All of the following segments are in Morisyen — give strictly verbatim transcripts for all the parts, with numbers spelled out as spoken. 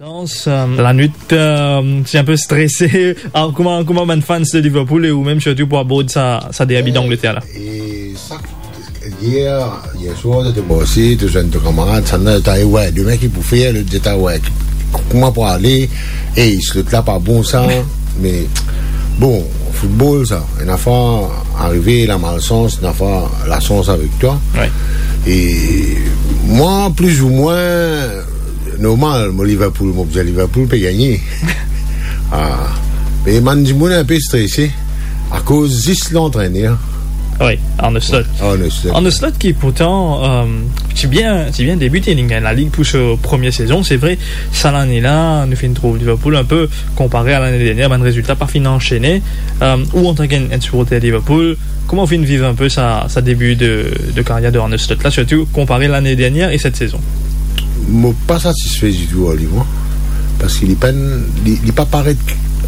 Dans, euh, lanwit, euh, ti inpe strese. Ah, kouma, kouma bann fans de Liverpool e ou mem sirtou pou abord sa, sa derbi d'Angleterre la? E sa, yer, yer swar, to ti bose, to zwenn to kamarad, sannla, to ta, "Wey, demin ki pou fer?" Lot dir, "Wey, kouma pou ale? Ey, lot la pa bon sa." Me bon, football sa, ena fwa arive lamalsans, ena fwa lasans avek twa. Wi. E mwa, plizoumwin, normal, mo Liverpool, mo bizin Liverpool pe gagne. Ah. Me bann dimoun inpe strese akoz zis lantrener. Wi, Arne Slot. Arne Slot. Arne Slot ki pourtan, euh, ti bien, ti bien debite, li gagn Lalig pou so premie sezon. Se vre, sa lane la, nou finn trouv Liverpool inpe konpare a lane dernie, bann rezilta pa finn ansene. Euh, ou antan ki enn, enn siporter Liverpool, kouma ou finn viv inpe sa, sa debi de, de karyer de Arne Slot la, sirtou konpare lane dernie e set sezon? Mo pa satisfe ditou ar li, mwa, parski li pa'nn, li, li pa paret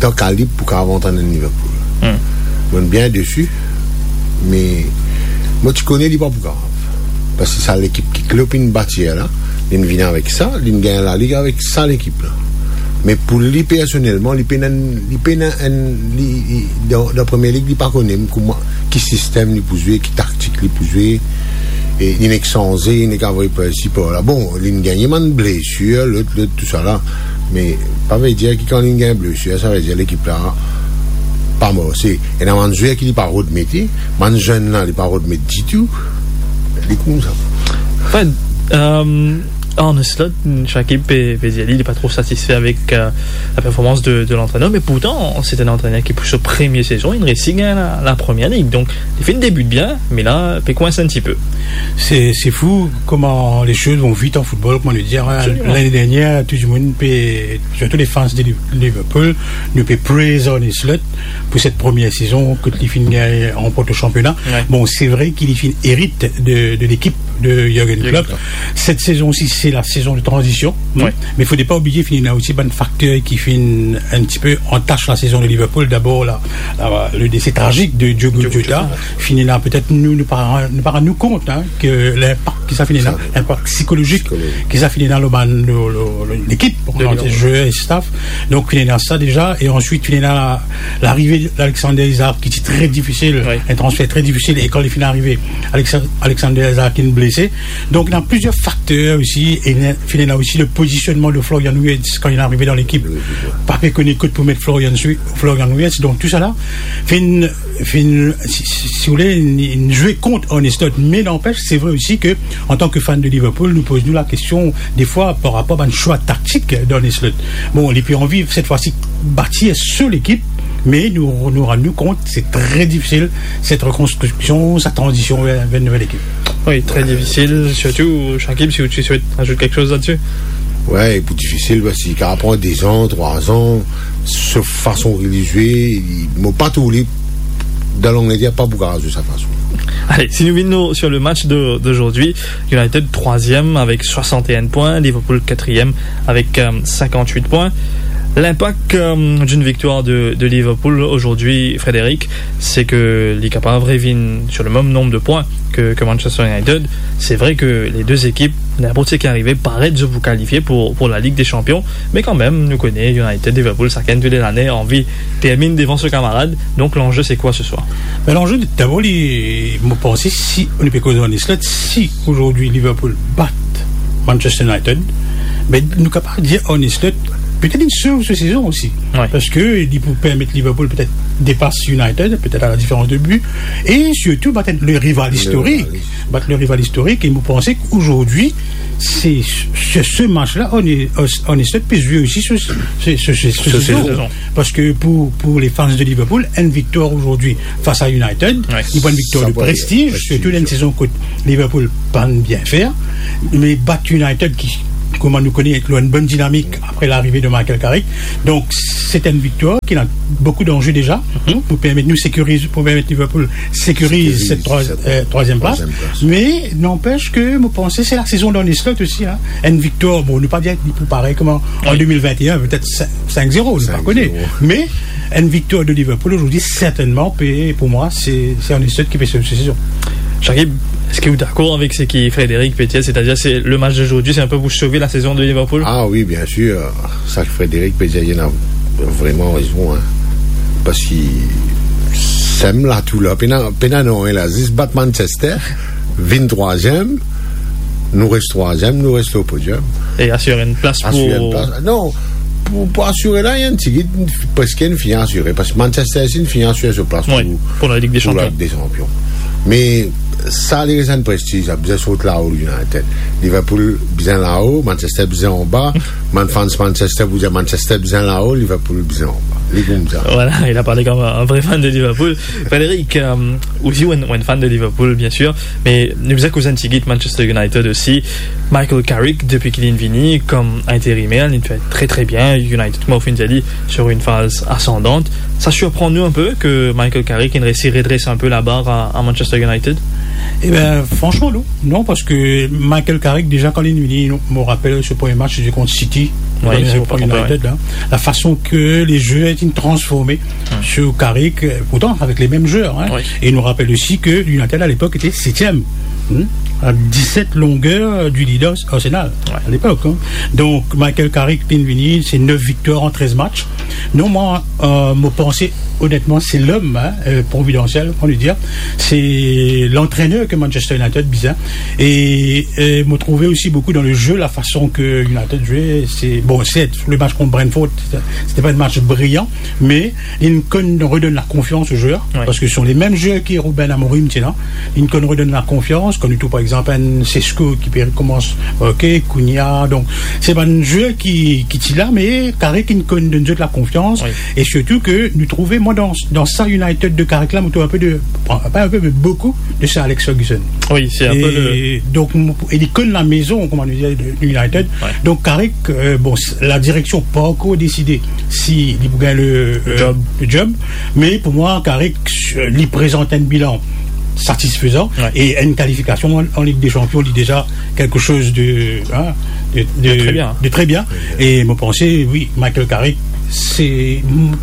dan kalib pou kapav antrenn Liverpool. Hmm. Mo'nn bien desi, me mo ti kone li pa pou kapav. Parski sa lekip ki Klopp inn batir la, li'nn vini avek sa, li'nn gagn Lalig avek sa lekip la. Me pou li personelman, li pena, li pena enn, li, li, dan, dan Premier League, li pa kone kouma, ki sistem li pou zwe, ki taktik li pou zwe, e li nek sanze, li nek avoy par isi par la. Bon, li'nn gagne bann blesir, lot, lot, tousala. Me pa vedir ki kan li'nn gagn blesir, sa vedir lekip la pa marse. Ena bann zwer ki li pa rod mete, bann zenn la, li pa rod met ditou. Li koumsa. Anfin, euh, Arne Slot, Shakib pe, pe dir li, li pa tro satisfe avek, euh, la performans de, de lantrener, me pourtan, se enn antrener ki, pou so premie sezon, li resi gagn la, la Premier League. Donk, li finn debit bien, me la, pe kwins enn tipe. C'est, c'est fou comment les choses vont vite en football, kouma nou dir, hein. Absolument. Lane dernie, tou dimoun pe, sirtou les fans de Liv-, Liverpool, nou pe praise Arne Slot pou set premie sezon kot li finn gagn, ranport le championnat. Ouais. Bon, se vre ki li finn erit de, de lekip de Jürgen Klopp. Jürgen Klopp. Set sezon osi, se la sezon de tranzision. Ouais. Me fode pa oubliye, finn ena osi bann fakter ki finn enn tipe antas la sezon de Liverpool. Dabor, la, la, le dese trazik de Diogo Jota. Diogo Jota. Finn ena, petet nou, nou pa, nou pa rann nou kont, hein, ke linpak ki sa finn ena, sa, linpak psikolozik, psikolozik, ki sa finn ena lor bann, lor, lor, lor lekip, lor lekip, zwer e staff. Donk, finn ena sa deza, e answit, finn ena la, larive Alexander Isak, ki ti tre difisil, wi, enn transfer tre difisil, e kan li finn arive, Alexa-, Alexander Isak inn blese. Donk, ena plizier fakter osi, e ena, finn ena osi le pozisionnman de Florian Wirtz kan li arive dan lekip. Wi, wi, wi. Pa pe kone kot pou met Florian Swi-, Florian Wirtz. Donk, tousala, finn finn, si, si, si ou le, inn, inn zwe kont Arne Slot. Me nanpes, se vre osi ke, antan ke fan de Liverpool, nou poz nou lakestion, defwa, par rapor bann swa taktik d'Arne Slot. Bon, li pe anvi, set fwa si, batir so lekip, me nou, nou rann nou kont, se tre difisil, set rekonstriksion, sa tranzision ver, ver enn nouvel ekip. Wi, tre difisil, sirtou, Shakib, si ou ti swet azout kiksoz ladsi. Wi, pou difisil, parski li kapav pran dezan, trwazan, so fason ki li zwe, li, mo pa trouv li, dan Langleter, pa pou kapav zwe sa fason. Allez, si nou vinn nou sur le match de, d'aujourd'hui, United troisième avec soixante et un points, Liverpool quatrième avec, euh, cinquante-huit points. L'impact, euh, d'une victoire de, de Liverpool aujourd'hui, Frédéric, c'est que li kapav revinn sur le même nombre de points que, que Manchester United. Se vre ke le de ekip, ninport seki arive, paret zot pou kalifie pou, pou la Ligue des Champions, me kanmem, nou kone United, Liverpool, sakenn tou le lane anvi terminn devan so kamarad, donk lanze se kwa se swar? Ben, lanze, dabor, li, mo panse, si nou pe koz Arne Slot, si azordi Liverpool bat Manchester United, ben, nou kapav dir Arne Slot, petet li sov so sezon osi. Wi. Parski li pou permet Liverpool petet depas United, petet a la diferans de bi, e sirtou bat le rival istorik. Le rival. Bat le rival istorik, e mo panse ki azordi, se, se, se match la, Arne, Arne Slot pe zwe osi so, so, so, so, so sezon. Parski pou, pou le fans de Liverpool, enn viktwar azordi fas a United, wi, li pou enn viktwar de prestiz, sirtou dan enn sezon kot Liverpool pa'nn bien fer, me bat United ki, kouma nou kone, lor enn bonn dinamik apre larive de Michael Carrick. Donk, se enn viktwar ki ena boukou danze deza, mhm, pou permet nou sekiriz, pou permet Liverpool sekiriz, sekiriz set trwa-, set, euh, trwaziem plas. Trwaziem plas. Me nanpes ke mo panse se la sezon d'Arne Slot osi, hein. Enn viktwar, bon, nou pa dir li pou parey kouma an, wi, de mil vent e enn, petet sink, sink zero, nou pa kone. Sink zero. Me enn viktwar de Liverpool azordi, sertennman, pe, pou mwa, se, se Arne Slot ki pe sov so sezon. Shakib, Eski ou dakor avek seki Frédéric pe dir, setadir se le match d'aujourd'hui, c'est un peu pour sauver la saison de Liverpool? Ah oui, bien sûr. Sa ki Frédéric pe dir, li ena vreman rezon, hein. Parski sem la tou la, pena, pena nanye la, zis bat Manchester, vinn trwaziem, nou res trwaziem, nou res lor podium. E asir enn plas pou... Asir enn plas. Non, pou, pou asire la, li enn tigit, preske inn fini asire, parski Manchester City inn fini asire so plas pou, pou la Ligue des Champions. Me sa, li res enn prestiz, sa bizin sot lao United. Liverpool bizin lao, Manchester bizin anba. Bann fans Manchester pou dir Manchester bizin lao, Liverpool bizin anba. Li koumsa. Voilà, il a parlé comme un vrai fan de Liverpool. Frédéric, euh, ou osi ou enn, ou enn fan de Liverpool, bien sûr, me nou bizin koz enn tigit Manchester United osi. Michael Carrick, depi ki linn vini kom interimer, li fer tre, tre bien. United, kouma ou finn dir li, sur une phase ascendante. Ça surprend nous un peu que Michael Carrick inn resi redres un peu la barre à, à Manchester United? Eh ben, franchement, non. Non, parski Michael Carrick, deza, kan linn vini, mo rapel so premie match, sete kont City, premie match kont United, hein. La fason ki lezwer inn transforme sur Carrick, euh, pourtan avek le mem zwer, hein. E nou rapel osi ki United, à l'époque, était septième, hein, à dix-sept longueurs du leader Arsenal, à l'époque, hein. Donc, Michael Carrick, linn vini, se nef viktwar an trez match. Non, mwa, euh, mo panse, onetman, se lom, hein, euh, providansiel, on peut dire. Se lantrener ki Manchester United bizin. E, euh, mo trouve osi boukou dan lezwe, la fason ki United zwe, se, bon, sert, le match kont Brentford, se, se pa enn match briyan, me linn konn redonn lakonfians o zwer, parski se le mem zwer ki Ruben Amorim ti ena, linn konn redonn lakonfians, kan nou trouv, par exanp, enn Sesko ki pe rekomans, ok, Cunha, donk, se bann zwer ki, ki ti la, me Carrick inn konn donn zot lakonfians, e sirtou ki nou trouve, mwa, dan, dan sa United de Carrick la, mo trouv enn pe de, pa enn pe, me boukou de sa Alex Ferguson. Oui, c'est un peu le... Donk, mo, e li konn lamezon, kouma nou dir, de, de United. Donk, Carrick, euh, bon, s-, la direksion pa ankor deside si li pou gagn le, euh, le job, me pou mwa, Carrick, euh, li prezant enn bilan satisfezan e enn kalifikasion an, an Ligue des Champions, li deza quelque chose de, hein, de, de, de très bien. De très bien. E mo panse, oui, Michael Carrick, se,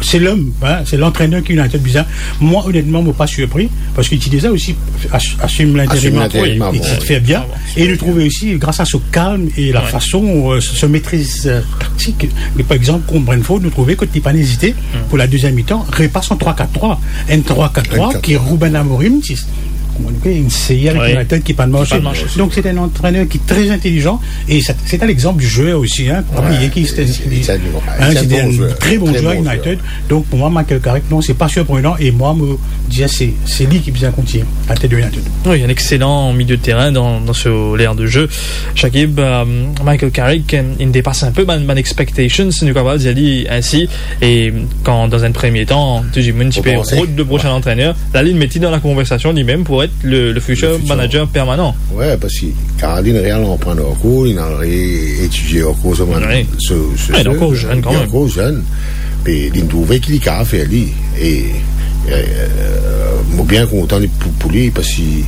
se lom, hein, se lantrener ki United bizin. Mwa, onetman, mo pa sirpri, parski li ti deza osi as-, asim linterim, asim linterim avan, li ti fer bien. E nou trouve osi, gras a so kalm e la fason, euh, so, so metriz, euh, taktik, par exanp, kont Brentford, nou trouve ki li pa'nn ezite pou la deziem mitan, repas an trwa kat trwa. Enn trwa kat trwa ki Ruben Amorim ti, kouma nou dir, inn seye avek United ki pa'nn marse. Donk, se enn antrener ki tre intelizan e se, se enn exanp de zwer osi, hein. Pa bliye ki se, se enn tre bon zwer United. Donk, pou mwa, Michael Carrick, non, se pa sirprenan e mwa, mo dir, se, se li ki bizin kontigne latet de United. Oui, un excellent milieu de terrain dans, dans ce, l'aire de jeu. Shakib, euh, Michael Carrick, euh, inn depas enn pe bann, bann expectations, si nou kapav dir li ainsi. E kan, dan enn premie tan, tou dimoun ti pe rod le prosin antrener, la, linn met li dan la konversasion limem pou et le, le futur manager permanan. Ouais, parski kan linn re al aprann ankor, linn al re etidie ankor so bann, so, so, li ankor zenn kanmem. Li ankor zenn. Pe linn trouve ki li kapav fer li. E, euh, mo bien kontan li pou, pou li, parski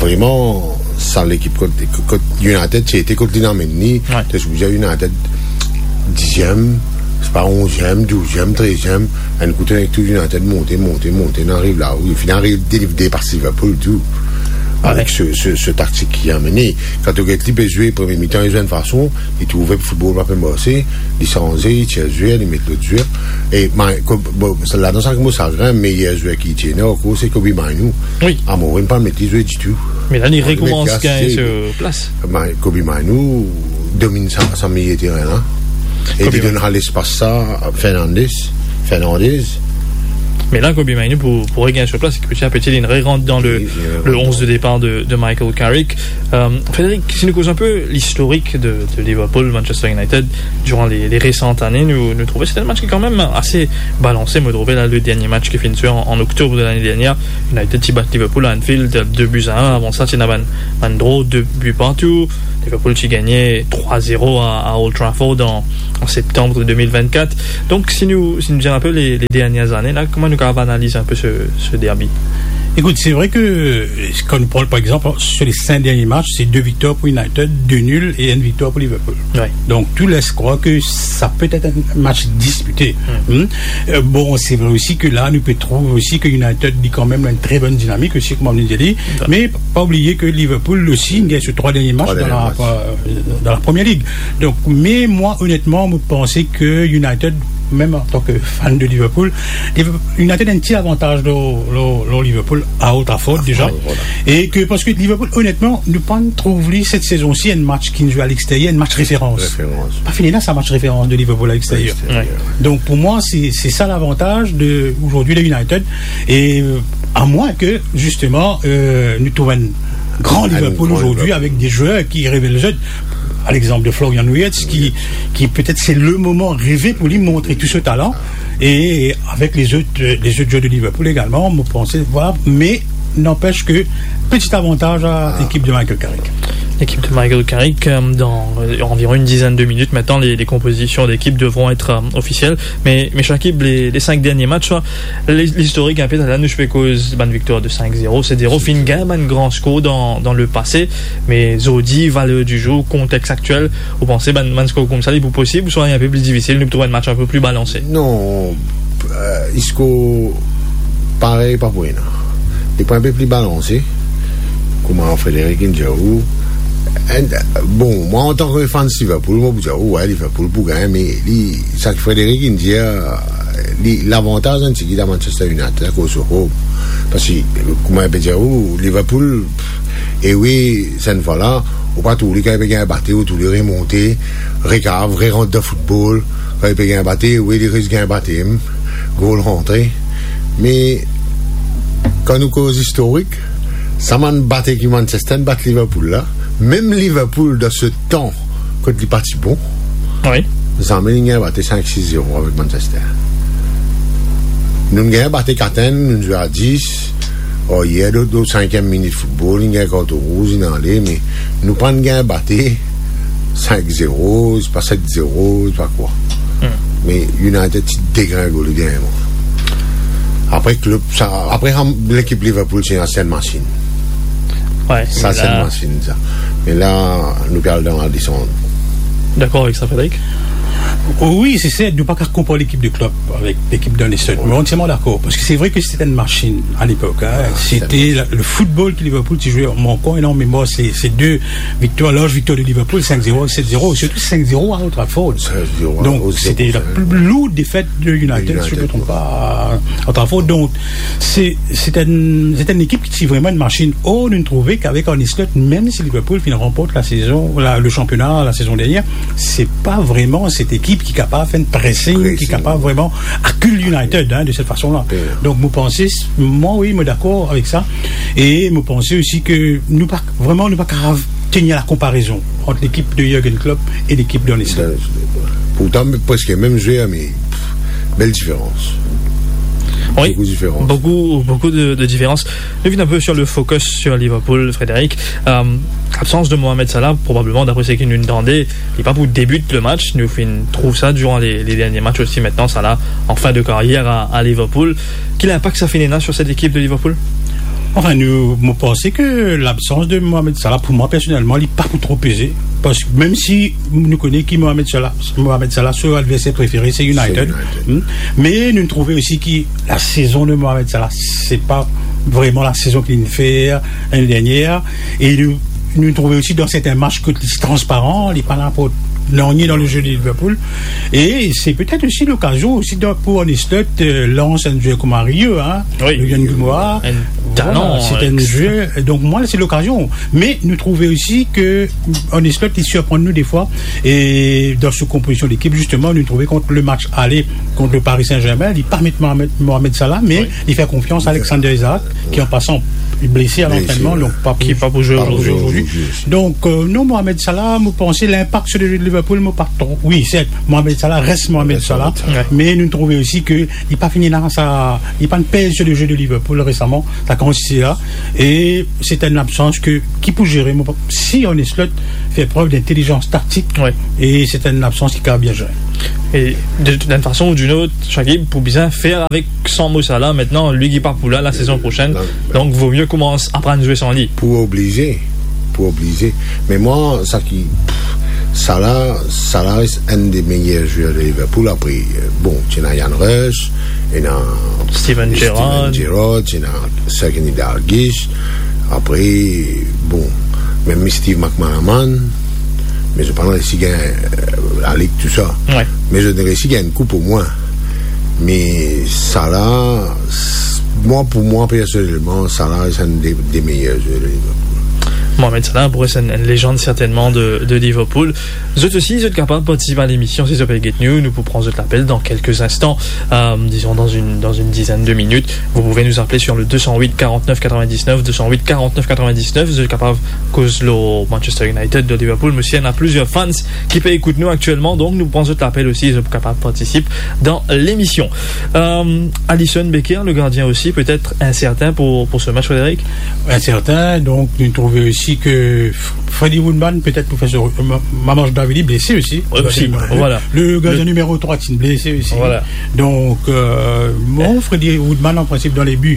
vreman, sa lekip kot, kot United ti ete, kot linn amenn li, to sipoze United diziem, se pa onziem, douziem, treziem, enn kout nek tou United monte, monte, monte, inn ariv la, wi, finn ariv deliver par Liverpool tou. Avek se, se, se taktik ki amenn li. Kan to get li pe zwe premie mitan, li zwe enn fason, li trouve foutbol pa pe marse, li sanze, li tir zwer, li met lot zwer. E, ma, ko-, bon, sa, ladan sa ki mo sagrin, meyer zwer ki ti ena ankor, se Kobbie Mainoo. Wi. Amorim pa met li zwe ditou. Me la, li rekoumans gagn so plas. Ma, Kobbie Mainoo dominn sa, sa meyer terin la. E li donn sa lespas sa Fernandes, Fernandes. Me la, Kobbie Mainoo pou, pou regagn so plas, peti a peti, li rant dan le, le onze de départ de, de Michael Carrick. Euh, Frédéric, si nou koz enn pe listorik de, de Liverpool, Manchester United, diran le, le resan ane, nou, nou trouve se enn match ki kanmem ase balanse, mo trouve la, le dernie match ki finn zwe an, an oktob de lane dernie, United ti bat Liverpool a Anfield, de bi a enn, avan sa, ti ena bann, bann dro de bi partou, Liverpool ti gagne trwa zero a, a Old Trafford an, an septanm de de mil vennkat. Donk, si nou, si nou dir enn pe le, le dernie ane la, kouma nou Rav analiz inpe se, se derbi. Écoute, c'est vrai que, euh, quand on parle, par exemple, sur les cinq derniers matchs, c'est deux victoires pour United, deux nuls et une victoire pour Liverpool. Ouais. Donc, tout laisse croire que ça peut être un match disputé. Hmm. Euh, bon, c'est vrai aussi que là, nou pe trouve aussi que United a quand même une très bonne dynamique aussi, comme on dit. Ouais. Mais pas oublier que Liverpool aussi, il gagne sur trois derniers matchs dans la, euh, dans la Première Ligue. Donc, mais moi, honnêtement, je pense que United, même en tant que fan de Liverpool, Liverpool, United a un petit avantage lor, lor, lor Liverpool à Old Trafford déjà. Ah, voilà. Et que, parce que Liverpool, honnêtement, nou pa trouv li cette saison-ci un match ki zwe à l'extérieur, un match référence. Référence. Pa fini la, sa match référence de Liverpool à l'extérieur. À l'extérieur. Ouais. Donc, pour moi, c'est, c'est ça l'avantage de, aujourd'hui de United. Et, euh, à moins que, justement, euh, nou trouv un grand Liverpool aujourd'hui avec des joueurs qui révèlent le jeu. À l'exemple de Florian Wirtz, qui, qui peut-être c'est le moment rêvé pour lui montrer tout ce talent. Et avec les autres, euh, les autres joueurs de Liverpool également, je pense, voilà. Mais n'empêche que, petit avantage à l'équipe de Michael Carrick. L'équipe de Michael Carrick, euh, dans, euh, environ une dizaine de minutes maintenant, les, les compositions d'équipe devront être, euh, officielles. Mais, mais Shakib, les, les cinq derniers matchs, hein, l'is-, l'historik inpe, la nou pe koz bann viktwar de cinq zéro, sept zéro, finn gagn bann gran skor dan, dan lepase, me zordi, valer di zour, kontex aktiel, ou panse bann, bann skor koumsa, li pou posib, ouswa inpe pli difisil, nou pou trouv enn match inpe pli balanse? Non, euh, skor parey pa pou ena. Li pou enpe pli balanse, kouma Frédéric inn dir ou. And, bon, mwa, antan ki fan Liverpool, mo pou dir ou, wi, Liverpool pou gagn, me li, sa ki Frédéric inn dir, li, lavantaz enn tigit a Manchester United, akoz so home. Parski, kouma mo pe dir ou, Liverpool, e wi, sa enn fwa la, ou pa trouv li kan li pe gagn bate, ou trouv li remonte, rekav, rerant dan foutbol, kan li pe gagn bate, wi, li res gagn bate, hmm, gol rantre. Me, kan nou koz istorik, sa bann bate ki Manchester bat Liverpool la, mem Liverpool dan se tan kot li pa ti bon, wi, zame li gagn bate cinq six zéro avek Manchester. Nou gagn bate kat enn, nou zwe a dis, o, yer, dan, dan sinkiem minit foutbol, li gagn karton rouz, li ale, me nou pa gagn bate cinq zéro, se pa sept zéro, se pa kwa. Hmm. Me United ti degringole dernie mwa. Apre Klopp, sa, apre, lekip Liverpool, se enn masinn. Wi, sa, se enn masinn, sa. Me la, nou pe al dan la desann. Dakor avek sa, Frédéric? Wi, se, se, nou pa kav konpar lekip de Klopp avek lekip d'Arne Slot. Wi. Mo antièrman dakor, parski se vre ki se enn masinn a lepok, hein. Ah, se enn masinn. C'était la, le football ki Liverpool ti zwe, mo ankor ena an memwar, se, se de viktwar, larz viktwar de Liverpool, cinq zéro, sept zéro, surtout cinq zéro à Old Trafford. Cinq zéro à Old Trafford. Donc, c'était la plus lourde défaite de United, si je me trompe pas, à Old Trafford. Donc, c'est, c'est un, c'est une équipe ki ti vremem enn masinn. Or, nou trouve ki avek Arne Slot, mem si Liverpool finn ranport la saison, la, le championnat la saison dernière, se pa vremem cette équipe ki kapav fer enn pressing, ki kapav vremem akil United, hein, de cette façon-là. Wi. Donc, mo panse, mwa, wi, mo dakor avek sa. E mo panse osi ki nou pa, vremem, nou pa kav tenir la konparezon ant lekip de Jürgen Klopp e lekip d'Arne Slot. Pourtan, preske mem zwer, me, pff, bel diferans. Wi, boukou diferans. Boukou, boukou de, de diferans. Nou vinn inpe sur le focus sur Liverpool, Frédéric. Euh, labsans de Mohamed Salah, probableman, dapre seki nou tande, li pa pou debit le match. Nou finn trouv sa durant les, les derniers matchs aussi. Maintenant, Salah en fin de carrière à, à Liverpool. Ki linpak sa finn ena sur cette équipe de Liverpool? Enfin, nou, mo panse ki labsans de Mohamed Salah, pou mwa, personelman, li pa pou tro peze. Parski mem si nou kone ki Mohamed Salah, Mohamed Salah, so adverser prefere, se United. Se United. Hmm. Me nou trouve osi ki la saison de Mohamed Salah, se pa vremem la saison ki li finn fer lane dernier. E nou, nou trouve osi dan serten match kot li transparan, li pa aport nanye dan le jeu de Liverpool. E se petet osi lokazion osi de, pou Arne Slot, euh, lans enn zwer kouma Rio, hein. Wi. Ryan Guimoa. Enn talan, voilà, se enn zwer. Donk, mwa, se lokazion. Me nou trouve osi ki Arne Slot, li sirprann nou defwa. E dan so konpozision lekip, zisteman, nou trouve kont le match ale kont le Paris Saint-Germain, li pa met Mohamed, Mohamed Salah, me li fer konfians a Alexander Isak, ki, an pasan, li blese a lantrennman, donk pa pou, ki pa pou zwe zordi. Donk, euh, non, Mohamed Salah, mo panse linpak sur le jeu de Liverpool, mo pa tro. Wi, sert, Mohamed Salah res Mohamed Salah, me nou trouve osi ki li pa finn ena sa, li pa pez sur le jeu de Liverpool resaman, sa kantite la, e se enn labsans ki, ki pou zere, mo pa, si Arne Slot fer prev d'intelizans taktik, e se enn labsans ki kav bien zere. E de, d'une façon ou d'une autre, Shakib, pou bizin fer avek san Mo Salah, aster li ki pa pou la, la sezon prosenn. Non. Donk, vo mie koumans aprann zwe san li. Pou oblize, pou oblize. Me mwa, sa ki, pff, Salah, Salah res enn de meyer zwer de Liverpool. Apre, bon, ti ena Ian Rush, ena Steven Steven Gerrard. Gerrard, ti ena Sir Kenny Dalglish. Apre, bon, mem Steve McManaman, me zot pa resi gagn, eh, lalig, tousa. Wi. Me zot resi gagn koup omwin. Me Salah, s-, mwa, pou mwa, personelman, Salah, se enn de, de meyer zwer de Liverpool. Mohamed Salah pou res enn, enn lejann sertennman de, de Liverpool. Zot osi, zot kapav partisip a lemision, si zot pe get nou, nou pou pran zot lapel dan kelke instan, euh, disons dans une, dans une dizaine de minutes. Vous pouvez nous appeler sur le deux cent huit quarante-neuf quatre-vingt-dix-neuf, deux cent huit quarante-neuf quatre-vingt-dix-neuf. Zot kapav koz lor Manchester United, lor Liverpool, me si ena plizier fans ki pe ekout nou aktielman, donk nou pran zot lapel osi, zot kapav partisip dan lemision. Euh, Alisson Becker, le gardien aussi, peut-être incertain pour, pour ce match, Frédéric ? Incertain, donk nou trouve osi ke F-, Freddie Woodman, petet pou fer so, Ma-, Marchandishvili blese osi. Wi, osi, voilà. Le gardien numéro trois, ti blese osi. Voilà. Donk, euh, bon, Freddie Woodman, an prinsip, dan le bi,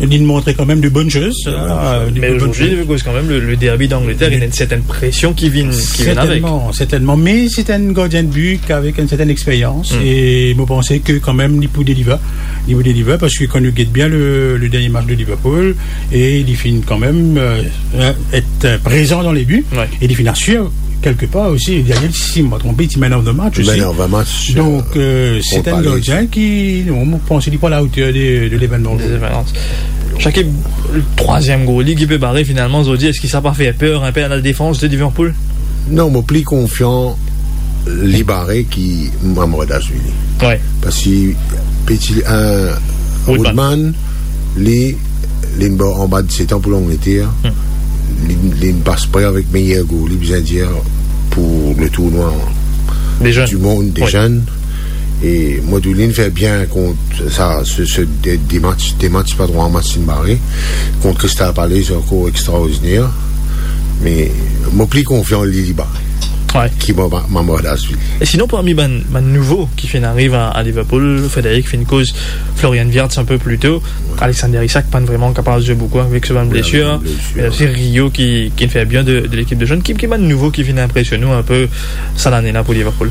li montre kanmem de bonn soz, hein, de bonn soz. Me azordi, akoz kanmem le, le derby d'Angleterre, ena enn sertenn presion ki vinn, ki vinn avek. Sertennman, sertennman. Me se enn gardien de bi avek enn sertenn lexperyans. E mo panse ke kanmem li pou deliver. Li pou deliver, parski kan nou get bien le, le dernie match de Liverpool, e li finn kanmem, euh, et, euh, prezan dan le bi, e li finn asir kelkepar osi. Dernie, si mo pa tronpe, ti man of the match osi. Man of the match, donk, euh, se enn gardien ki, non, mo panse li pou a la oter de, de levenman. Shakib, le trwaziem gol li ki pe bare finalman, zot dir, eski sa pa fer per inpe a la defans de Liverpool? Non, mo pli konfian li bare ki Marchandishvili. Wi. Parski peti, euh, Woodman, li, li anba disset an pou Langleter. Li, li pas pre avek meyer gol, li bizin dir, pou le tournoi du monde de zenn. E mo trouv li fer bien kont sa, se, se de, de match, de match, pa trwa match li bare. Kont Crystal Palace, ankor extraordiner. Me mo pli konfian li, li bare ki Marchandishvili. E sinon, parmi bann, bann nouvo ki finn ariv a, a Liverpool, Frédéric finn koz Florian Wirtz inpe pli to, Alexander Isak pa vreman kapav zwe boukou avek so bann blesir. Ena osi Rio ki, ki finn fer bien de, de lekip de zenn. Ki, ki bann nouvo ki finn inpresionn ou inpe sa lane la pou Liverpool?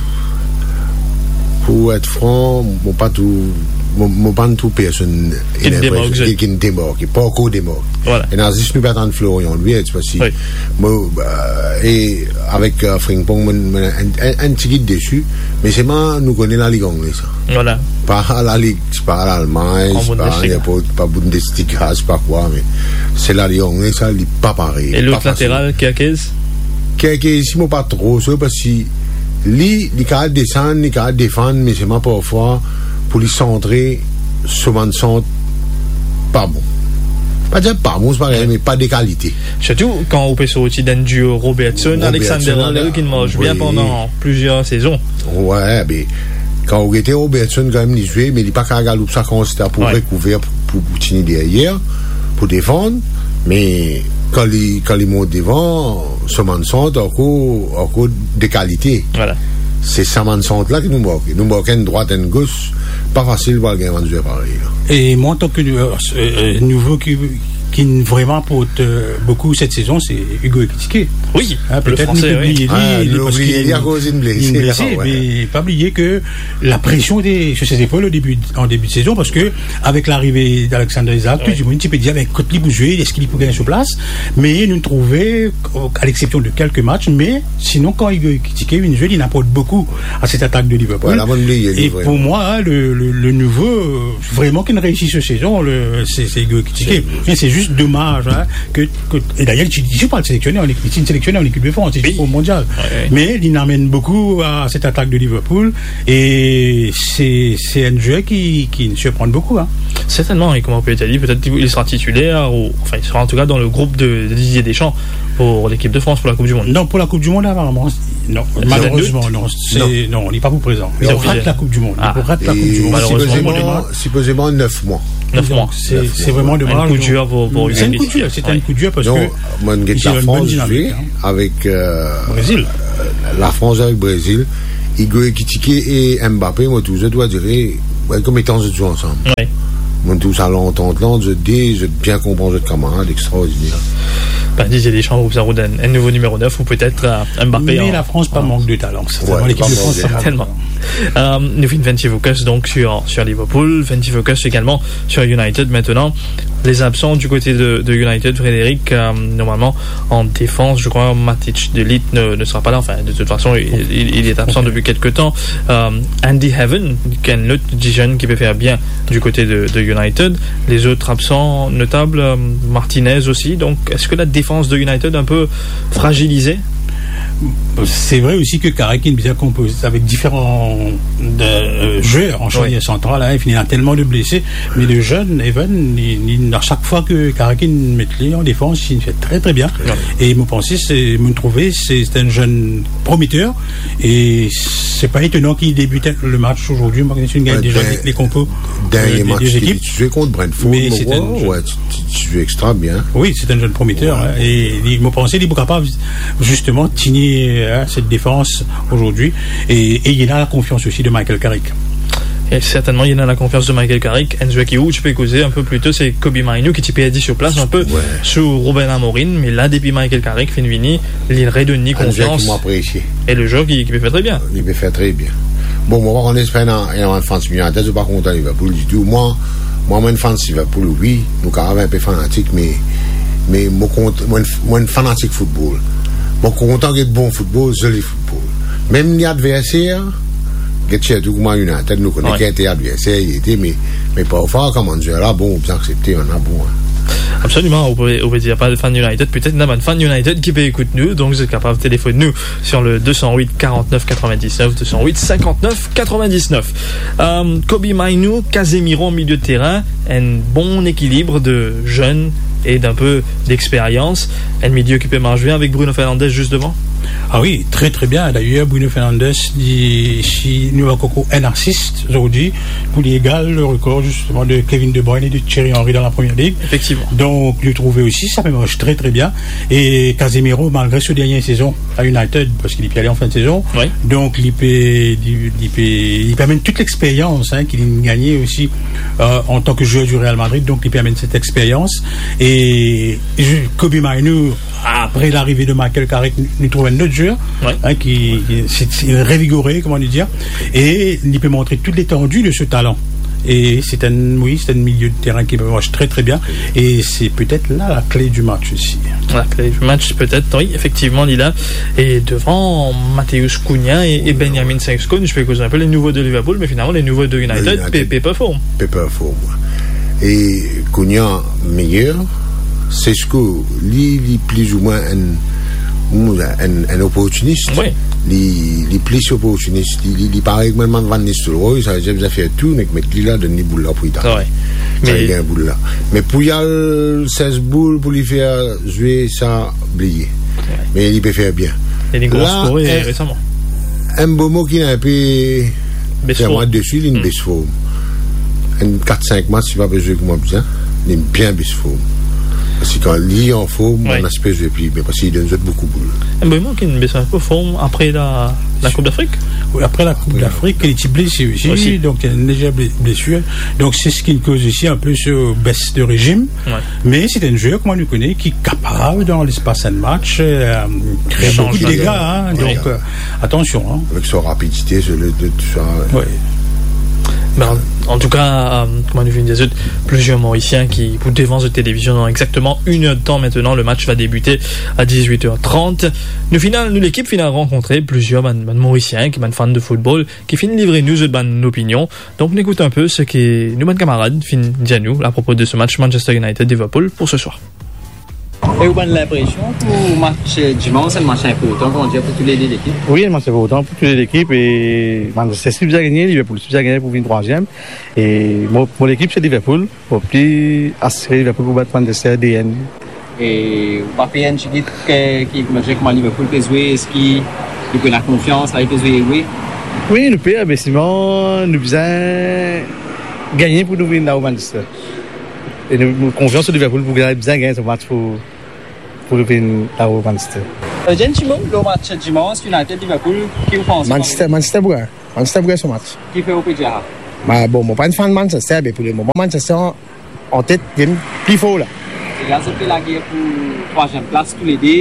Pou et fran, mo pa trouv, mo, mo pa trouv personn ki, ki demarke, pa ankor demarke. Ena zis nou pe atann Florian Wirtz, parski mo, euh, e avek, euh, Frimpong, mo, mo enn, enn, enn tigit desi, me selman nou kone Lalig Angle sa. Pa Lalig, pa Lalmagn, pa Bundesliga, pa Bundesliga, pa kwa, me se Lalig Angle sa, li pa parey, li pa fasil. E lot lateral, Kerkez? Kerkez, si mo pa tro sir, parski li, li kapav desann, li kapav defann, me selman parfwa pou li santre, so bann sant pa bon. Pa dir pa bon, se pa, me pa de kalite. Sirtou kan ou pe sorti dan enn duo Robertson, Alexander-Arnold ki mars bien pandan plizier sezon. Wi, be, kan ou gete Robertson kanmem li zwe, me li pa kapav galoup sa kantite pou rekouver, pou, pou, pou tini deryer, pou defann, me kan li, kan li mont devan, so bann sant ankor, ankor de kalite. Se sa bann sant la ki nou manke. Nou manke enn drwat, enn gos, pa fasil pou al gagn bann zwer parey la. E mwa, antan ke, euh, euh, nouvo ki, ki vreman aport, euh, boukou set sezon, se Hugo Ekitike. Wi, le Fransez, wi. Petet nou pe bliye li, li, parski li, li blese, me pa bliye ke lapresion ete sir ses zepol o debi, an debi de sezon, parski avek larive d'Alexander Isak, tou dimoun ti pe dir, be, kot li pou zwe, eski li pou gagn so plas? Me nou trouve, a l'exepsion de kelke match, me sinon, kan Hugo Ekitike vinn zwe, li aport boukou a set atak de Liverpool. E pou mwa, le, le, le nouvo, euh, vreman ki reisi so sezon, le, se, se Hugo Ekitike. E se zis domaz, hein, ke, ke, e dayer, li ti, li ti pa seleksioné an ekip, li ti seleksioné an ekip de Frans, li ti pou Mondial. Me li amenn boukou a set atak de Liverpool, e se, se enn zwer ki, ki sirprann boukou, hein. Sertennman, e kouma ou pe dir, petet li sera titiler, ou, anfin, li sera an tou ka dan le group de, de Didier Deschamps pou lekip de Frans, pou la Koup di Mond. Non, pou la Koup di Mond, aparaman, non. Malerezman, non. Non, li pa pou prezan. Li pou rat la Koup di Mond. Li pou rat la Koup di Mond. Malerezman. Sipozeman, sipozeman nef mwa. Nef mwa. Se, se vreman domaz. Enn kou dir pou, pou Hugo Ekitike. Se enn kou dir, se enn kou dir parski... Non, mwa, get Lafrans zwe avek, euh, Brezil. Lafrans avek Brezil. Hugo Ekitike e Mbappé, mo trouv zot, on dirait, ouais, kouma etan zot zwe ansam. Wi. Mo trouv sa lantant la ant zot de, zot bien konpran zot kamarad, extraordiner. Ben, Didier Deschamps, ou sa donn enn nouvo nimero nef, ou petet, euh, Mbappé. Mais la France, pas manque de talent. Certainement, l'équipe de France, pas manque de talent. Certainement. Euh, nou finn fer enn ti focus, donc, sur, sur Liverpool, fer enn ti focus également sur United maintenant. Les absents du côté de, de United, Frédéric, euh, normalement, en défense, je crois, Matic de Ligt ne, ne sera pas là. Enfin, de toute façon, il, il, il est absent depuis quelque temps. Euh, Andy Heaven, qui est un autre jeune qui peut faire bien du côté de, de United. Les autres absents notables, euh, Martinez aussi. Donc, est-ce que la défense de United est un peu fragilisée ? C'est vrai aussi que Carrick est bien composé avec différents de, euh, joueurs en charnière centrale, hein. Il y a tellement de blessés, mais le jeune Heaven, il, il, à chaque fois que Carrick met li en défense, il fait très, très bien. Ouais. Et me penser, c'est, me trouver, c'est, c'est un jeune prometteur. Et c'est pas étonnant qu'il débute le match aujourd'hui. Moi, je suis déjà les, les compos, euh, des, des équipes. Dernier match, ti zwe kont Brentford, mais c'est un jeune, ouais, ti, ti, ti zwe extra bien. Oui, c'est un jeune prometteur, hein. Et il, me penser, il est capable, justement, de tenir, hein, cette défense aujourd'hui. Et, et il a la confiance aussi de Michael Carrick. E sertennman, li ena lakonfians de Michael Carrick, enn zwer ki ou ti pe koze inpe pli to, se Kobbie Mainoo ki ti perdi sir plas inpe sou Ruben Amorim, me la, depi Michael Carrick finn vini, li redonn li konfians. Enn zwer ki mo apresie. E le zwer ki, ki pe fer tre bien. Li pe fer tre bien. Bon, mo pa konn si ena, ena bann fans United, zot pa kontan Liverpool ditou. Mwa, mwa, mo enn fans Liverpool, wi, nou kapav inpe fanatik, me, me mo kont-, mo enn, mo enn fanatik foutbol. Mo kontan get bon foutbol, zoli foutbol. Mem li adverser, get sirtou kouma United, nou kone ki Inter adverser li ete, me, me parfwa, kouma zwer la, bon, ou bizin aksepte, ena bon, hein. Absoliman, ou pe, ou pe dir pa de fan United, petet ena bann fan United ki pe ekout nou, donk zot kapav telefonn nou sur le deux cent huit quarante-neuf quatre-vingt-dix-neuf, deux cent huit cinquante-neuf quatre-vingt-dix-neuf. Euh, Kobbie Mainoo, Casemiro milieu de terrain, un bon équilibre de jeunes et d'un peu d'expérience. Un milieu qui peut marcher bien avec Bruno Fernandes juste devant. Ah wi, tre, tre bien. D'ailleurs, Bruno Fernandes, li, si nou ankor enn assist zordi, pou li egal le rekor, zisteman, de Kevin De Bruyne e de Thierry Henry dan la Première Ligue. Efektivman. Donk, nou trouve osi, sa pe mars tre, tre bien. E Casemiro, malgre so dernie sezon a United, parski li pe ale an fin de sezon, donk li pe, li, li pe, li pe amenn tout lexperyans, hein, ki li gagne osi, euh, an tan ke zwer di Real Madrid, donk li pe amenn set lexperyans. E Kobbie Mainoo, apre larive de Michael Carrick, nou, nou trouv enn lot zwer, hein, ki, ki, se, se revigore, kouma nou dir, e li pe montre tou letandi de so talan. E se enn, wi, se enn milieu de terrain ki pe mars tre, tre bien. E se petet la, la kle di match osi. La kle di match, petet, wi, efektivman, li la. E devan, Matheus Cunha e, e Benjamin Sesko, nou pe koz inpe le nouvo de Liverpool, me finalman, le nouvo de United, pe, pe perform. Pe perform, wi. E Cunha meyer, Sesko, li, li plizoumwin enn, enn, enn oportinis. Wi. Li, li plis oportinis. Li, li, li parey kouma Van Nistelrooy, sa vedir bizin fer tou, nek met li la, donn li boul la pou li tape. Sa, li gagn boul la. Me pou li al sez boul, pou li fer zwe sa, bliye. Wi. Me li pe fer bien. E li gro skorer resaman. Mbeumo ki ena inpe bes form. Fer mwa desi, li inn bes form. Enn kat sink match, li pa pe zwe kouma bizin, li bien bes form. Parski kan li anform, bann la pe zwe pli bien, parski li donn zot boukou boul. Mbeumo ki inn bes inpe form apre la, la Koup Dafrik? Wi, apre la Koup Dafrik, li ti blese osi, donk li ena enn lezer ble-, blesir. Donk se seki koz osi inpe so bes de rezim. Wi. Me se enn zwer, kouma nou kone, ki kapav, dan lespas enn match, euh, kre boukou de dega, hein. Donk, euh, atansion, hein. Avek so rapidite, so le, de, tou sa, wi. Ben, an, an tou ka, euh, kouma nou vinn dir zot, plizier Morisien ki pou devan zot televizion dan exakteman enn er de tan aster. Le match va débuter à dix-huit heures trente. Nou finn al, nou lekip finn al rankontre plizier bann, bann Morisien ki bann fan de foutbol, ki finn livre nou zot bann opinion. Donk, nou ekout inpe seki nou bann kamarad finn dir nou apropo de se match Manchester United-Liverpool pou se swar. E ou bann linpresion pou match, eh, dimans, enn match inportan, kouma dir, pou tou le de lekip? Wi, enn match inportan pou tou le de lekip. E Manchester City bizin gagne, Liverpool osi bizin gagne pou vinn trwaziem. E mo, mo lekip se Liverpool. Mo pli asire Liverpool pou bat Manchester de enn. E ou pa pe enn tigit ki, ki, kouma dir, kouma Liverpool pe zwe, eski nou pe ena konfians, la, li pe zwe, wi? Wi, nou pe, me selman nou bizin gagne pou nou vinn lor Manchester. E nou, nou konfians lor Liverpool pou gagn, bizin gagn se match pou, pou nou vinn lor Manchester. Euh, Jen Chimo, lor match dimans, United Liverpool, ki ou panse? Manchester, Manchester pou gagn. Manchester pou gagn so match. Kifer ou pe dir sa? Ba, bon, mo pa enn fan Manchester, me pou lemoman, Manchester an, an tet, li pli for la. E la, zot pe lager pou trwaziem plas toulede.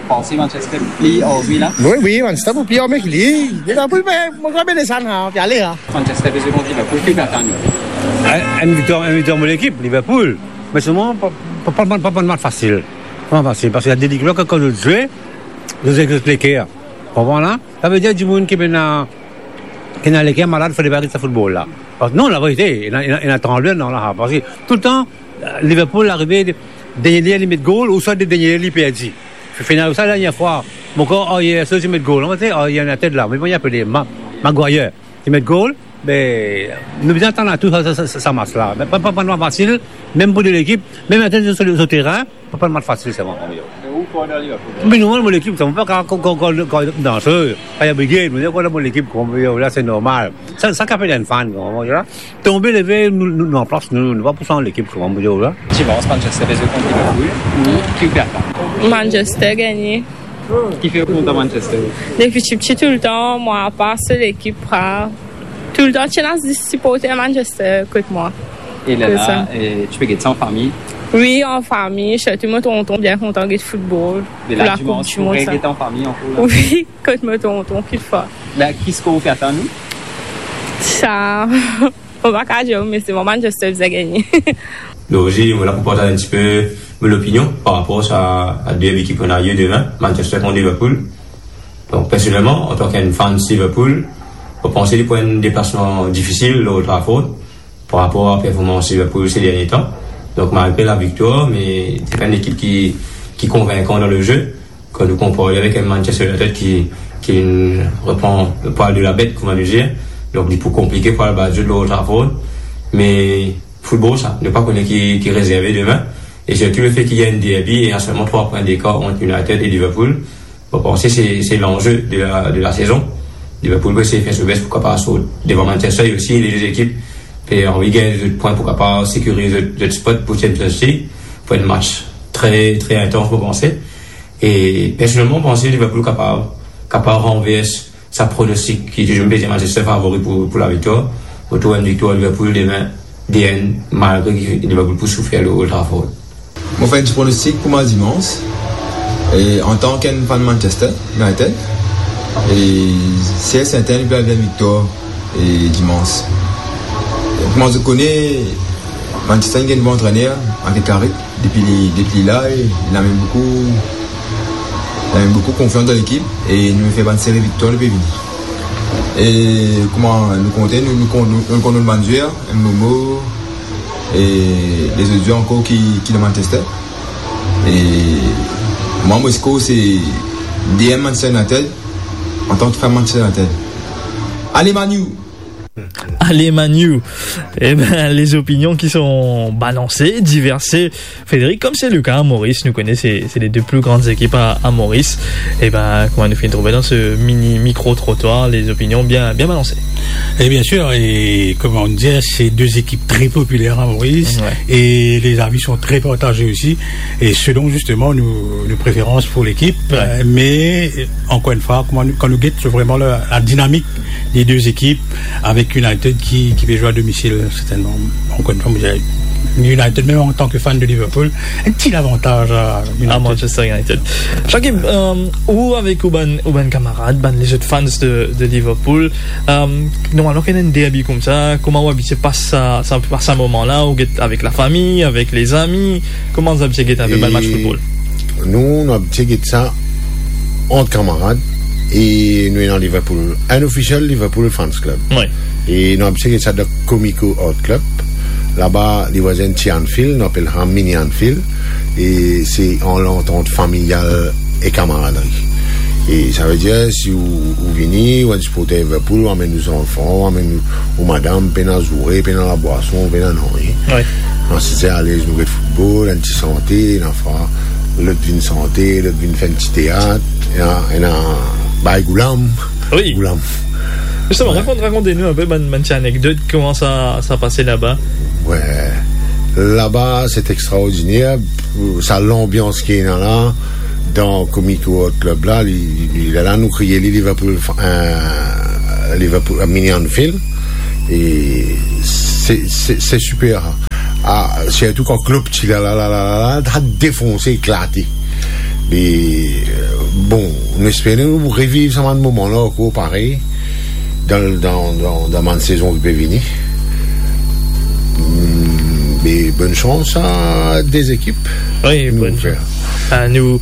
Panse Manchester pli ar li la? Wi, wi, Manchester pou pli ar ki li. Liverpool, me, mo krwar pe desann la, pe ale la. Manchester pe zwe kont Liverpool, ki ou pe atann? Enn, enn viktwar, enn viktwar mo lekip, Liverpool. Me selman, pa, pa, pa, pa, pa match fasil. Pa fasil, parski ena de lekip la, kan, kan zot zwe, zot zwe ek zot leker. Konpran la? Savedir dimoun ki pena, ki ena leker malad, fode pa get sa foutbol la. Parski non, laverite, ena, ena, ena tranble, non, la, parski toultan, euh, Liverpool arive, dernie ler li met gol, ouswa de dernie ler li perdi. Final sa, dernie fwa, mo krwar, ayer, so, li met gol, non, ti, ayer, ena tet la, me bon, li apele Ma-, Maguire. Li met gol, be, nou bizin atann a tou sa, sa, sa, sa match la. Me pa, pa, pa enn match fasil, mem pou de lekip, mem atann so, so terin, pa, pa enn match fasil, selman, pou mwa. Me ou krwar dan Liverpool? Me normal, mo lekip, sa, mo pa ka, ka, ka, ka, ka, dan so, pa oblizan, mo krwar dan mo lekip, kouma, la, se normal. Sa, sa kapav enn fan, kouma, la. Tonbe, leve, nou, nou, nou an plas, nou, nou pa pou sa lekip, kouma, la. Dimans, Manchester pe zwe kont Liverpool, ki ou pe atann? Manchester gagne. Kifer ou kontan Manchester? Depi tipti toultan, mwa, apa so lekip la, toultan ti ena siporter Manchester kot mwa. E lerla, e, ti pe get sa an fami? Wi, an fami, sirtou mo tonton bien kontan get foutbol. Be pou la, la Koup di Mond, ou pe sa get an fami ankor la? Wi, kot mo tonton, kikfwa. La, ki skor ou pe atann ou? Sa, mo pa kapav dir, me se mwa Manchester bizin gagne. Donk, osi, mo la pou partaz enn tipe mo lopinion par rapor a, a derbi ki pou ena lie demin, Manchester kont Liverpool. Donk, personelman, antan ki enn fan Liverpool, mo panse li pou enn deplasman difisil lor Old Trafford par rapor a performans Liverpool se dernie tan. Donk, malgre laviktwar, me se pa enn lekip ki, ki konvinkan dan le ze. Kan nou konpar li avek enn Manchester United ki, ki repran le pwal de la bet, kouma nou dir, donk li pou konplike pou al bat zot lor Old Trafford. Me foutbol sa, nou pa kone ki, ki rezerve demin. E sirtou lefe ki ena enn derbi e ena selman trwa pwin dekar ant United e Liverpool, mo panse se, se lanze de la, de la sezon. Liverpool pou esey fer so bes pou kapav sort devan Manchester, e osi lezot ekip pe anvi gagn zot pwin pou kapav sekiriz zot, zot spot pou Champions League, pou enn match tre, tre intans, mo panse. E personelman, mo panse Liverpool kapav, kapav ranvers sa pronostik ki ti zwenn pe dir Manchester favori pou, pou laviktwar. Mo trouv enn viktwar Liverpool demin, de enn, malgre ki Liverpool pou soufer lor Old Trafford. Mo fer enn ti pronostik pou match dimans. E antan ki enn fan Manchester United, e si enn serten li pe al gagn viktwar, e dimans. Kouma zot kone, Manchester inn gagn bon antrener, Michael Carrick. Depi li, depi li la, e, li amenn boukou, li amenn boukou konfians dan lekip, e nou fer bann seri viktwar, nou pe vini. E kouma nou konte, nou, nou konn, nou, nou konn nou bann zwer, Mbeumo, e lezot zwer ankor ki, ki dan Manchester. E mwa, mo skor se de enn Manchester United, antan ki fan Manchester United. Ale Man U! Ale Man U. Eh ben, les opinions qui sont balancées, diversées. Frédéric, comme c'est le cas à Maurice, nou kone se, se les deux plus grandes équipes à, à Maurice. Eh ben, kouma nou finn trouve dan se mini micro-trottoir, les opinions bien, bien balancées. Et bien sûr, et comme on dit, c'est deux équipes très populaires à Maurice, ouais, et les avis sont très partagés aussi, et selon justement nos, nos préférences pour l'équipe. Ouais. Euh, mais, euh, encore une fois, kouma nou, kan nou get, c'est vraiment la, la dynamique des deux équipes, avec United qui, qui peut jouer à domicile, certainement. Encore une fois, moi, j'ai United, même en tant que fan de Liverpool, un petit avantage à United. À Manchester United. Shakib, euh, ou avek ou bann, ou bann kamarad, bann lezot fans de, de Liverpool, euh, normalman, kan ena enn derbi koumsa, kouma ou abitie pas sa, sa, pas sa moman la, ou get avek lafami, avek lezami, kouma ou abitie get enpe bann match football? Nou, nou abitie get sa ant kamarad e nou ena Liverpool, enn official Liverpool Fans Club. Wi. E nou abitie get sa dan Comico Art Club. Laba, li vwazin ti Anfield, nou apel sa Mini Anfield. E se an lantant familial e kamaradri. E savedir, si ou, ou vini, ou enn siporter Liverpool, ou amenn ou zanfan, ou amenn ou, ou madam, pena zoure, pena labwason, pena nanye. Wi. Nou asize alez, nou get football, enn ti sante, ena fwa, lot vinn sante, lot vinn fer enn ti teat, ena, ena bay goulam. Wi. Goulam. Justement, wi, rakont, rakont nou enpe bann, bann ti anekdot, kouma sa, sa pase laba? Wi. Laba, se extraordiner, sa lanbians ki ena la, dan Community World Club la, li, li, li, la, la, nou kriye li Liverpool, euh, Liverpool, euh, Mini Anfield. E se, se, se siper. Ah, sirtou kan Klopp ti la, la, la, la, la, la, ta defonse, eklate. E, euh, bon, nou espere nou reviv sa bann moman la ankor parey dan, dan, dan, dan bann sezon ki pe vini. Hmm, e bonn sans a de lekip. Wi, nou bonn fer. Sans. Ah, nou,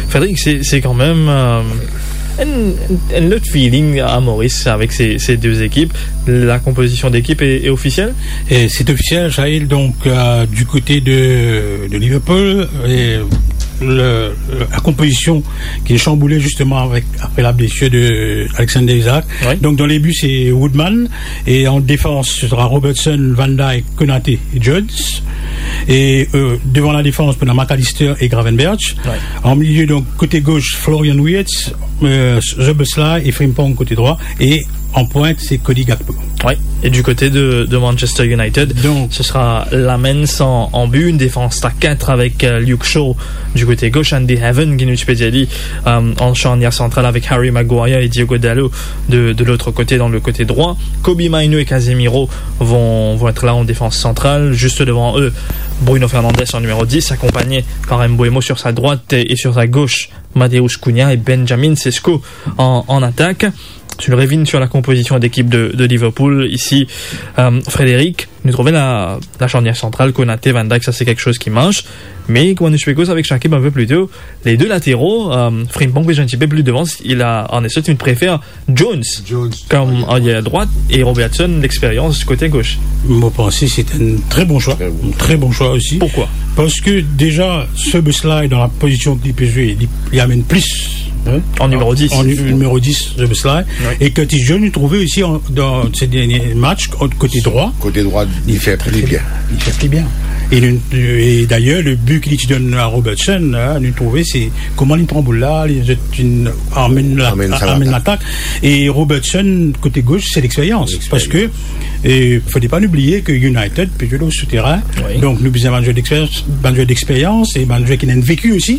Frédéric, se, se kanmem, euh, enn, enn, enn lot feeling a Moris avek se, se de lekip. La konpozision dekip e, e ofisiel? E se ofisiel, Shahil, donk, euh, du kote de, de Liverpool, e le, le, la konpozision ki chanboule zisteman avek, apre la blesir de Alexander Isak. Wi. Donk, dan le bi, se Woodman. E an defans, se sera Robertson, Van Dijk, Konaté e Jones. E, euh, devan la defans, pou nou ena McAllister e Gravenberch. Wi. An milie, donk, kote gos, Florian Wirtz, euh, Szoboszlai e Frimpong kote drwa. E an pwint, se Cody Gakpo. Wi. E du kote de, de Manchester United, donk, se sera Lamens an, an bi, enn defans a kat avek, euh, Luke Shaw du kote gos, Andy Heaven, ki nou ti pe dir li, euh, an charnier santral avek Harry Maguire e Diogo Dalot de, de lot kote, dan le kote drwa. Kobbie Mainoo e Casemiro vont, vont et la an defans santral. Zis devan zot, Bruno Fernandes an nimero dis, akonpagn par Mbeumo sur sa droite e, e sur sa gos, Matheus Cunha e Benjamin Sesko an, an atak. Si nou revinn sur la konpozision dekip de, de Liverpool isi, euh, Frédéric, nou trouve la, la charnier santral, Konaté, Van Dijk, sa se kiksoz ki mars. Me, kouma nou ti pe koz avek Shakib enn pe pli to, le de latero, euh, Frimpong pe zwe enn tipe pli devan, li la, Arne Slot, li prefer Jones, Jones kom arier drwat e Robertson, lexperyans, kote gos. Mo panse se enn tre bon swa. Tre bon. Tre bon swa osi. Pourquoi? Parski deza, Szoboszlai, dan la pozision ki li pe zwe, li, li amenn plis, hein? An nimero dis. An ni-, nimero dis, Szoboszlai. Wi. E Curtis Jones, nou trouve osi an, dan se dernie match, kote drwa. Kote drwa, li fer pli bien. Li fer pli bien. E nou, e dayer, le bi ki li ti donn a Robertson, la, nou trouve se kouma li pran boul la, li, li amenn la, amenn sa amenn latak. Latak. E Robertson, kote gos, se lexperyans. Lexperyans. Parski, e, fode pa nou bliye ki United pe zwe lor souterin. Wi. Donk, nou bizin bann zwer dexperyans, bann zwer dexperyans e bann zwer ki ena enn veki osi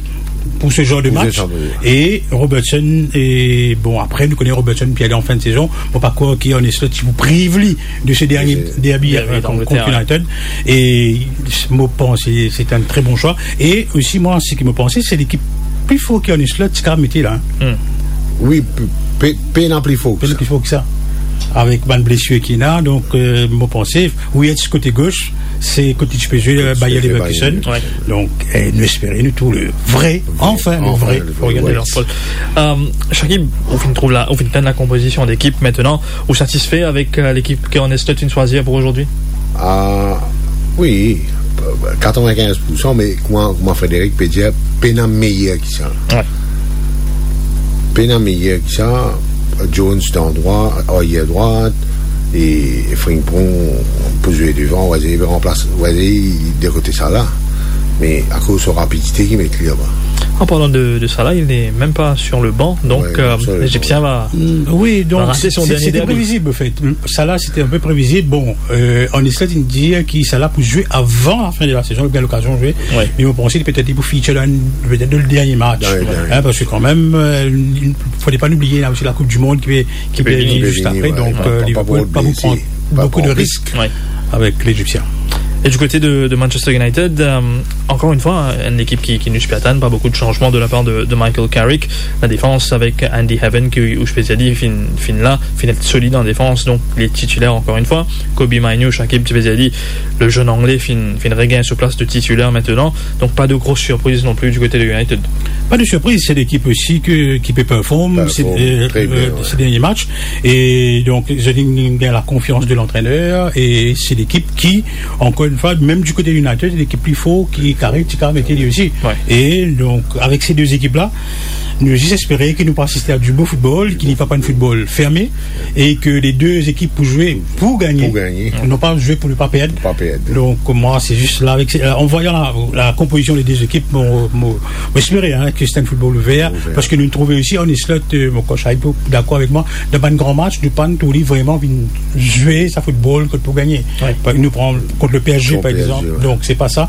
pou se zanr de match. Pou se zanr de match. E Robertson, e bon, apre, nou kone Robertson, pi ale an fin de sezon, mo pa krwar ki Arne Slot ti pou priv li de se dernie derbi, derbi, euh, kont, kont Angleterre, United. E mo panse se enn tre bon swa. E osi, mwa, seki mo panse, se lekip pli for ki Arne Slot ti kapav mete la. Hmm. Wi, pe, pe, pena pli for ki sa. Pena pli for ki sa. Avek bann blesir ki ena, donk, euh, mo panse, Wirtz kote gos, se kote ti pe zwe, euh, Bayer Leverkusen. Wi. Donk, eh, nou espere nou trouv le vre, anfin, le vre Florian Wirtz. Euh, Shakib, ou finn trouv la, ou finn tann la konpozision dekip, aster, ou satisfe avek, euh, lekip ki Arne Slot finn swazir pou azordi? Ah, wi, katrevinkinz poursan, me kouma, kouma Frédéric pe dir, pena meyer ki sa. Wi. Pena meyer ki sa, Jones dan drwa, arier drwat, e Frimpong pou zwe devan, Wazei ranplas, Wazei de kote sa la. Me akoz so rapidite ki met li laba. An parlan de, de Salah, il n'est même pas sur le banc, donc, euh, l'Égyptien va, va rater son dernier derby. Mm, wi, donk, se, se, c'était prévisible, en fait. Salah, c'était un peu prévisible. Bon, euh, Arne Slot, li dir ki Salah pou zwe avan la fin de la sezon, li pou gagn lokazion zwe. Wi. Me mo panse petet li pou feature dan, petet dan le dernie match. Dan le dernie match. Hein, parski kanmem, euh, fode pa nou bliye, ena osi la Coupe du Monde ki pe, ki pe vini zis apre, wi. Donk, euh, Liverpool pa pou pran boukou de risk avek Lezipsien. Wi. E du kote de, de Manchester United, euh, ankor enn fwa, enn lekip ki, ki nou ti pe atann, pa boukou de sanzman de la par de, de Michael Carrick. La defans avek Andy Heaven, ki, ou ti pe dir li, finn, finn la, finn et solid an defans, donk li titiler ankor enn fwa. Kobbie Mainoo, Shakib ti pe dir li, le zenn Angle finn, finn regagn so plas de titiler aster. Donk, pa de gro sirpriz non pli du kote de United. Pa de sirpriz, se lekip osi ki, ki pe perform, euh, se dernie match. Perform tre bien, wi. E donk, zot inn gagn la konfians de lantrener, e se lekip ki, ankor enn fwa, mem du kote de United, lekip pli for ki Carrick ti kapav mete li osi. Wi. E donk, avek se de lekip la, Nou zis espere ki nou pou asiste a dibon foutbol, ki li pa pou enn foutbol ferme, e ki le de ekip pou zwe pou gagne, pou gagne, non pa zwe pou ne pa perd. Pou pa perd. Donk, mwa, se zis la, avek, euh, an vwayan la, la konpozision de de ekip, mo, mo, mo espere, hein, ki se enn foutbol ouver, ouver, parski nou trouve osi, Arne Slot, euh, mo krwar Shahib pou dakor avek mwa, dan bann gran match, nou pa trouv li vreman vinn zwe sa foutbol kot pou gagne. Wi. Par, nou pran kont le P S G, kont par P S G, egzanp. Wi. Donk, se pa sa.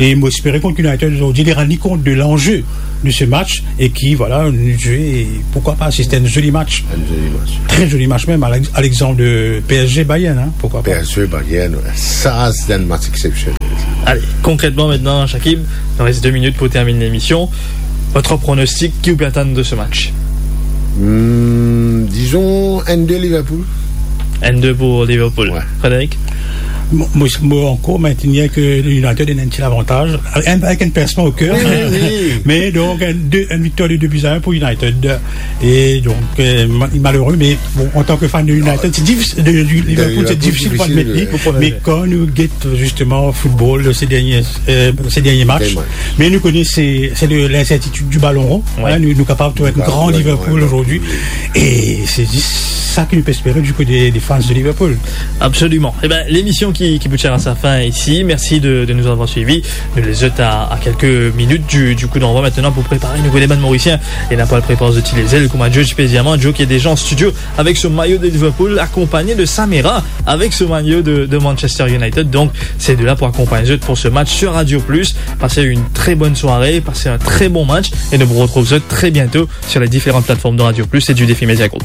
E mo espere kont United zordi, li rann li kont de lanze de se match e ki, vwala, nou zwe, e poukwa pa, se enn zoli match. Enn zoli match. Tre zoli match mem, a l'ex-, a l'exanp de P S G Bayern, hein, poukwa pa. P S G Bayern, wi. Sa, se enn match eksepsionel. Ale, konkretman, aster, Shakib, il nous reste deux minutes pour terminer l'émission. Votre pronostic, ki ou pe atann de se match? Hmm, dizon enn de Liverpool. Enn de pou Liverpool. Wi. Frédéric? Mo, mo, mo ankor mintenir ki United ena enn ti lavantaz, enn, avek enn pinsman o ker. Wi, wi, wi. Me donk, enn de, enn viktor de de bi a enn pou United. E donk, euh, ma-, malere, me bon, antan ki fan de United, se difisil, de, de Liverpool, se difisil pou admet li. Pou pran le... Me kan nou get zisteman foutbol se dernie, euh, se dernie match, me nou kone se, se le, linsertitid di balon ron. Wi. Hein, nou, nou kapav trouv enn gran Liverpool zordi. Wi. E se zis sa ki nou pe espere di kote de, de fan de Liverpool. Absoliman. Eben, lemision ki, ki pou tir a sa fin isi. Mersi de, de nou avoir swivi. Nou les zot a, a kelke minit di, di kou danvwa aster pou prepare nou kote bann Morisien. E nou pou al prepar zot ti lezel, kouma Joe ti pe dir mwa, Joe ki est déjà en studio avec son maillot de Liverpool, accompagné de Samira avec son maillot de, de Manchester United. Donk, se de la pou akonpagn zot pou se match sur Radio Plus. Passez une très bonne soirée, passez un très bon match et nous retrouvons très bientôt sur les différentes plateformes de Radio Plus et du Défi Média Group.